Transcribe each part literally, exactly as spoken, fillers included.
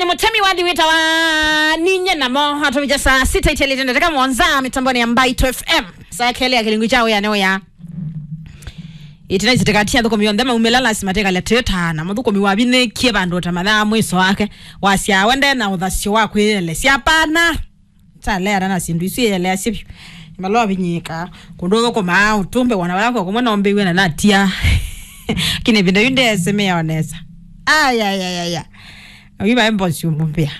Mũtemi wathi wĩtawa Ninye Namo atũvĩkya saa sita itialĩte ndatĩka mũonza mĩtambonĩ ya Mbaitũ F M. Saa kelĩ ya kĩlungu kya wĩa nĩ wĩa. Ĩtina isitĩkatia athũkũmi onthe maumĩla lasima tĩkalya tĩtana. Mũthũkũmi wavinĩkie vandũ ta mathaa mwĩso wake. Wasya wende na ũthasyo wa kwĩyelesya. Hapana. Taleana na syĩndũ isu iyeleasye vyũ. Imalovinyĩka. Kũndũ ũthũkũmaa ũtũmbe wana wako kumwe nombĩw'e na natia. Kine vinda yu ndesemea onesa. Ayayayaya. Oiva embosi umbupia.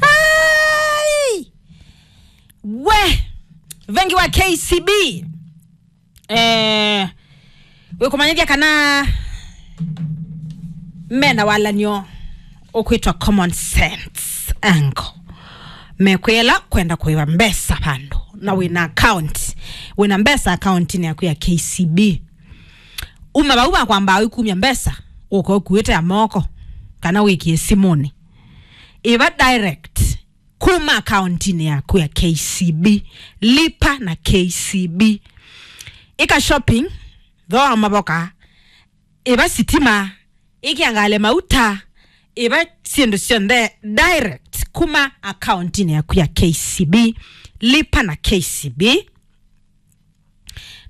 Ai! We! Vengi wa K C B. Eh, wĩkũmanyĩthya kana mena walanyo ũkwĩtwa common sense angle. Mekwĩla kwenda kũĩva mbesa vandũ na wĩna account, wĩna mbesa account-inĩ yaku ya K C B. Uma vau vakwambaa ũikumya mbesa, ũka ũkuĩte ya moko, kana wĩkie simũnĩ. Ĩva direct kuma akauntinĩ yaku ya K C B. Lipa na K C B. Ĩka shopping, thooa mavoka, ĩva sitima, ĩkĩa ngalĩ mauta, ĩva syĩndũ syonthe direct kuma akauntinĩ yaku ya K C B. Lipa na K C B.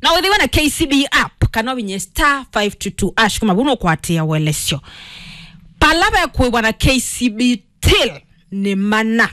Na wĩthĩwe na K C B app, kana ũvinye star five two two hash kuma vau nũkwatĩa ũelesyo. Pala vekũĩvwa na K C B till nĩ mana.